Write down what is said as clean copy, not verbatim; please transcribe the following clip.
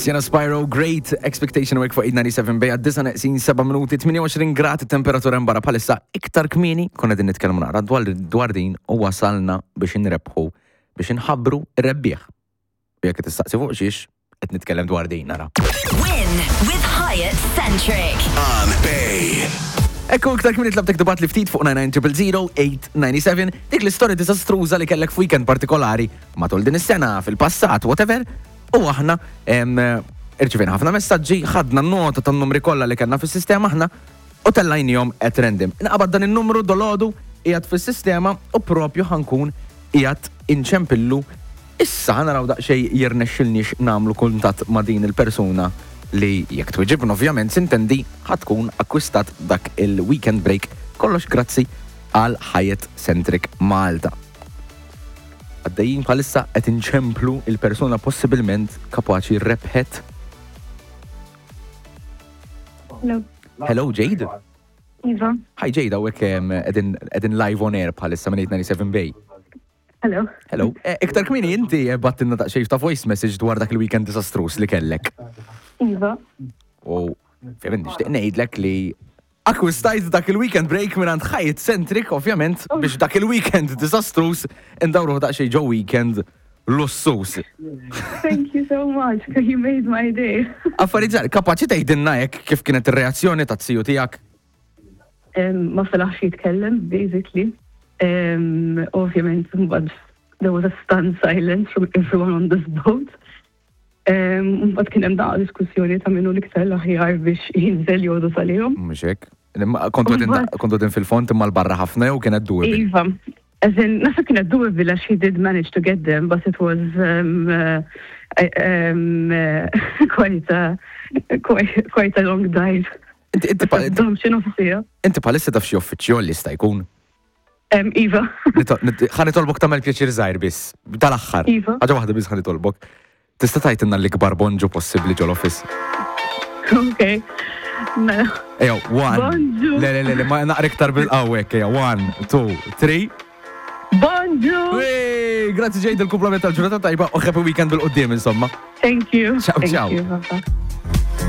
Sienna Spyro, Great Expectation Work fuq 897 bejja 9 neqsin 7 minuti 28 grad temperatura mbara bħalissa iktar kmieni konna din nitkellmu naqra dwar, dwar din u wasalna biex inrebħu biex inħabbru ir-rebbieħ. U jekk qed tistaqsi fuq xiex, qed nitkellem dwar din nara. Win with Hyatt Centric. On Bay. Ekku iktar kmieni tlabtek tibgħat li ftit fuq 9900897 dik l-istorja diżastruża li kellek f'weekend partikolari matul din is-sena, fil-passat, whatever. U aħna em, irċivejna ħafna messaġġi, ħadna nota tan-numri kollha li kellna fis-sistema aħna u tellajnihom at random. Inqabad dan in-numru dolodu qiegħed fis-sistema u propju ħa nkun qiegħed inċempillu issa ħa naraw daqsxejn jirnexxilniex nagħmlu kuntatt ma' din il-persuna li jekk twiġibna ovvjament sintendi ħa tkun akkwistat dak il-weekend break kollox grazzi għal Hyatt Centric Malta. Għaddejjin bħalissa qed inċemplu il-persuna possibilment kapaċi rebħet. Hello. Hello Jade. Iva. Hi Jade, hawnhekk qegħdin qegħdin live on air bħalissa minn 897 Bay. Hello. Hello. Eh, Iktar kmieni inti battinna daqsxejn ta' voice message dwar dak il-weekend disastrus li kellek. Iva. U ovvjament nixtieq ngħidlek li akkwistajt dak il-weekend break minn Hyatt Centric, ovvjament, biex dak il-weekend disastrus indawruh daqsxejn ġo weekend lussus. Thank you so much. You made my day. Affarijiet żgħar, kapaċi tgħidilna hekk kif kienet ir-reazzjoni taz-ziju tiegħek? Um, ma felaħx jitkellem, basically. Um, ovvjament, mbagħad there was a stunned silence from everyone on this boat. Um, mbagħad kien hemm daqqa diskussjoni ta' minnu l-iktar l-aħjar biex jinżel jodu salihom. Mhux hekk. Imma Kontu qegħdin Mbagħad- kontu qegħdin fil-fond imma l-barra ħafna jew kienet doable. Iva, as in, naħseb kienet doable għax he did manage to get them, but it was um, uh, um, uh, quite, a, quite, quite a long dive. Inti inti pa- Dom xi nofsija. inti bħalissa taf xi uffiċċju li jista' jkun. Um, Iva, Nito- nit- Ħa nitolbok tagħmel pjaċir żgħir biss, tal-aħħar. Iva. Ħaġa waħda biss ħa nitolbok. Tista' tgħidilna l-ikbar bonġu possibbli ġol-office. ok. Mela, Ejja, one. Bonġu. Le, le, le, le, ma naqra iktar bil-qawwek, ejja, one, two, three. Bonġu! Wey, Grazzi Jade, il-kumplament tal-ġurnata tajba u happy weekend bil-qoddim, insomma. Thank you. Ciao, Thank ciao. you. Bye-bye.